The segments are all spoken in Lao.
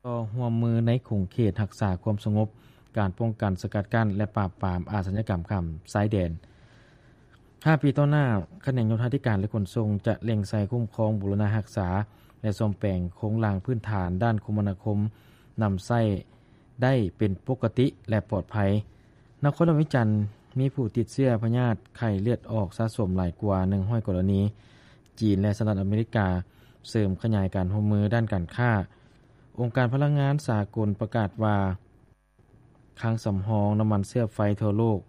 ຕໍ່ຮ່ວມມືໃນຂົງເຂດຮັກສາຄວາມສະຫງົບ, ການປ້ອງກັນ, ສະກັດກັ້ນ ແລະ ປາບປາມອາຊະຍາກຳຂ້າມຊາຍແດນ. ຫ້າປີຕໍ່ໜ້າ, ຂະແໜງໂຍທາທິການ ແລະ ຂົນສົ່ງ ຈະເລັ່ງໃສ່ຄຸ້ມຄອງ, ບູລະນະຮັກສາ ແລະ ສ້ອມແປງໂຄງລ່າງພື້ນຖານດ້ານຄົມມະນາຄົມ ນຳໃຊ້ໄດ້ເປັນປົກກະຕິ ແລະ ປອດໄພ. ນະຄອນຫຼວງວຽງຈັນ ມີຜູ້ຕິດເຊື້ອພະຍາດໄຂ້ເລືອດອອກສະສົມຫຼາຍກວ່າໜຶ່ງຮ້ອຍກໍລະນີ. ຈີນ ແລະ ສະຫະລັດອາເມລິກາ ເສີມຂະຫຍາຍການຮ່ວມມືດ້ານການຄ້າ. ອົງການພະລັງງານສາກົນປະກາດວ່າ ຄັງສຳຮອງນ້ຳມັນເຊື້ອໄຟທົ່ວໂລກ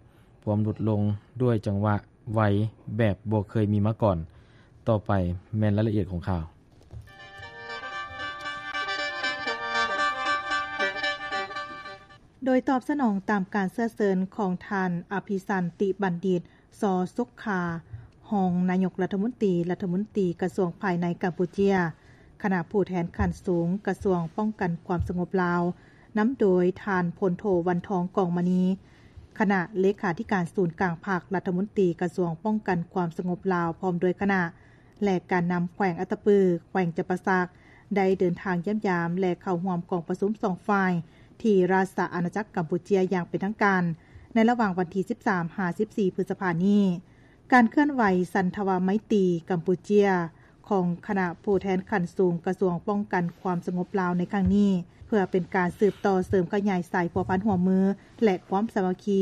ພວມຫຼຸດລົງດ້ວຍຈັງຫວະໄວແບບບໍ່ເຄີຍມີມາກ່ອນ. ຕໍ່ໄປແມ່ນລາຍລະອຽດຂອງຂ່າວ. ໂດຍຕອບສະໜອງຕາມການເຊື້ອເຊີນຂອງທ່ານ ອະພິສັນຕິບັນດິດ ຊໍ ສຸກຄາ, ຮອງນາຍົກລັດຖະມົນຕີ, ລັດຖະມົນຕີກະຊວງພາຍໃນກຳປູເຈຍ, ຄະນະຜູ້ແທນຂັ້ນສູງກະຊວງປ້ອງກັນຄວາມສະຫງົບລາວ, ນຳໂດຍທ່ານ ພົນໂທ ວັນທອງ ກອງມະນີ, ຄະນະເລຂາທິການສູນກາງພັກ, ລັດຖະມົນຕີກະຊວງປ້ອງກັນຄວາມສະຫງົບລາວ ພ້ອມດ້ວຍຄະນະ ແລະ ການນຳແຂວງອັດຕະປື, ແຂວງຈຳປາສັກ ໄດ້ເດີນທາງຢ້ຽມຢາມ ແລະ ເຂົ້າຮ່ວມກອງປະຊຸມສອງຝ່າຍ ທີ່ລາຊະອານາຈັກກຳປູເຈຍຢ່າງເປັນທາງການ ໃນລະຫວ່າງວັນທີສິບສາມ ຫາ ສິບສີ່ ພຶດສະພານີ້. ການເຄື່ອນໄຫວສັນທະວາໄມຕີກຳປູເຈຍ ຂອງຄະນະຜູ້ແທນຂັ້ນສູງກະຊວງປ້ອງກັນຄວາມສະຫງົບລາວໃນຄັ້ງນີ້ ເພື່ອເປັນການສືບຕໍ່ເສີມຂະຫຍາຍສາຍພົວພັນຮ່ວມມື ແລະ ຄວາມສາມັກຄີ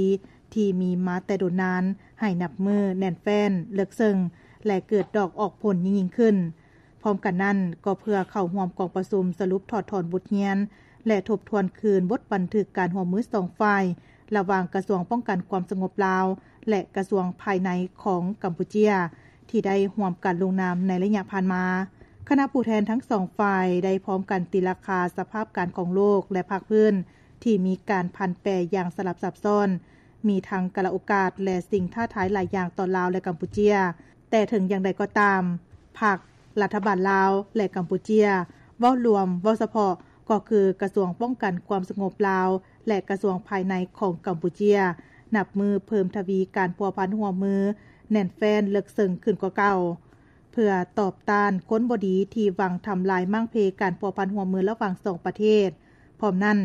ທີ່ມີມາແຕ່ດົນນານ ໃຫ້ນັບມື້ແໜ້ນແຟ້ນ, ເລິກເຊິ່ງ ແລະ ເກີດດອກອອກຜົນຍິ່ງໆຂຶ້ນ. ພ້ອມກັນນັ້ນ, ກໍເພື່ອເຂົ້າຮ່ວມກອງປະຊຸມສະຫຼຸບຖອດຖອນບົດຮຽນ ແລະ ທົບທວນຄືນບົດບັນທຶກການຮ່ວມມືສອງຝ່າຍ ລະຫວ່າງກະຊວງປ້ອງກັນຄວາມສະຫງົບລາວ ແລະ ກະຊວງພາຍໃນຂອງກຳປູເຈຍ ທີ່ໄດ້ຮ່ວມກັນລົງນາມໃນໄລຍະຜ່ານມາ. ຄະນະຜູ້ແທນທັງສອງຝ່າຍໄດ້ພ້ອມກັນຕີລາຄາສະພາບການຂອງໂລກ ແລະ ພາກພື້ນທີ່ມີການຜັນແປຢ່າງສະຫຼັບຊັບຊ້ອນ, ມີທັງກາລະໂອກາດ ແລະ ສິ່ງທ້າທາຍຫຼາຍຢ່າງຕໍ່ລາວ ແລະ ກຳປູເຈຍ. ແຕ່ເຖິງຢ່າງໃດກໍຕາມ, ພັກ, ລັດຖະບານລາວ ແລະ ກຳປູເຈຍ ເວົ້າລວມ, ເວົ້າສະເພາະ ກໍຄືກະຊວງປ້ອງກັນຄວາມສະຫງົບລາວ ແລະ ກະຊວງພາຍໃນຂອງກຳປູເຈຍ ນັບມື້ເພີ່ມທະວີການພົວພັນຮ່ວມມືແໜ້ນແຟ້ນເລິກເຊິ່ງຂຶ້ນກວ່າເກົ່າ ເພື່ອຕອບຕ້ານຄົນບໍ່ດີທີ່ຫວັງທຳລາຍມ້າງເພການພົວພັນຮ່ວມມືລະຫວ່າງສອງປະເທດ. ພ້ອມນັ້ນ,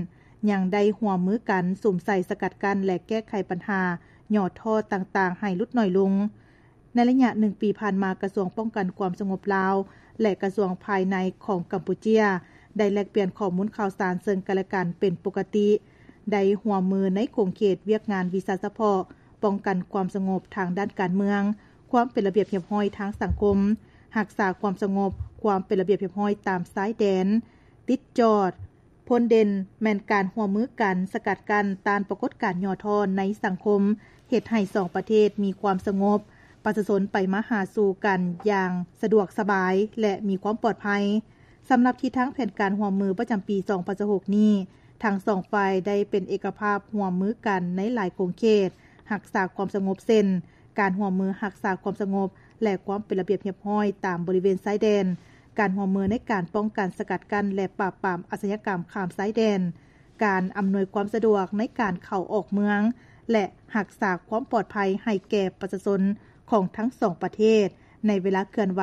ຍັງໄດ້ຮ່ວມມືກັນສຸມໃສ່ສະກັດກັ້ນ ແລະ ແກ້ໄຂບັນຫາຫຍໍ້ທໍ້ຕ່າງໆໃຫ້ຫຼຸດໜ້ອຍລົງ. ໃນໄລຍະໜຶ່ງປີຜ່ານມາ, ກະຊວງປ້ອງກັນຄວາມສະຫງົບລາວ ແລະ ກະຊວງພາຍໃນຂອງກຳປູເຈຍ ໄດ້ແລກປ່ຽນຂໍ້ມູນຂ່າວສານເຊິ່ງກັນ ແລະ ກັນເປັນປົກກະຕິ, ໄດ້ຮ່ວມມືໃນຂົງເຂດວຽກງານວິຊາສະເພາະ, ປ້ອງກັນຄວາມສະຫງົບທາງດ້ານການເມືອງ, ຄວາມເປັນລະບຽບຮຽບຮ້ອຍທາງສັງຄົມ, ຮັກສາຄວາມສະຫງົບ, ຄວາມເປັນລະບຽບຮຽບຮ້ອຍຕາມຊາຍແດນ, ຕິດຈອດ, ພົ້ນເດັ່ນແມ່ນການຮ່ວມມືກັນສະກັດກັ້ນຕ້ານປາກົດການຫຍໍ້ທໍ້ໃນສັງຄົມ, ເຮັດໃຫ້ສອງປະເທດມີຄວາມສະຫງົບ, ປະຊາຊົນໄປມາຫາສູ່ກັນຢ່າງສະດວກສະບາຍ ແລະ ມີຄວາມປອດໄພ. ສຳລັບທິດທາງແຜນການຮ່ວມມືປະຈຳປີສອງພັນຊາວຫົກນີ້, ທັງສອງຝ່າຍໄດ້ເປັນເອກະພາບຮ່ວມມືກັນໃນຫຼາຍຂົງເຂດຮັກສາຄວາມສະຫງົບ ເຊັ່ນ ການຮ່ວມມືຮັກສາຄວາມສະຫງົບ ແລະ ຄວາມເປັນລະບຽບຮຽບຮ້ອຍຕາມບໍລິເວນຊາຍແດນ, ການຮ່ວມມືໃນການປ້ອງກັນ, ສະກັດກັ້ນ ແລະ ປາບປາມອາຊະຍາກຳຂ້າມຊາຍແດນ, ການອຳນວຍຄວາມສະດວກໃນການເຂົ້າອອກເມືອງ ແລະ ຮັກສາຄວາມປອດໄພໃຫ້ແກ່ປະຊາຊົນຂອງທັງສອງປະເທດ ໃນເວລາເຄື່ອນໄຫວ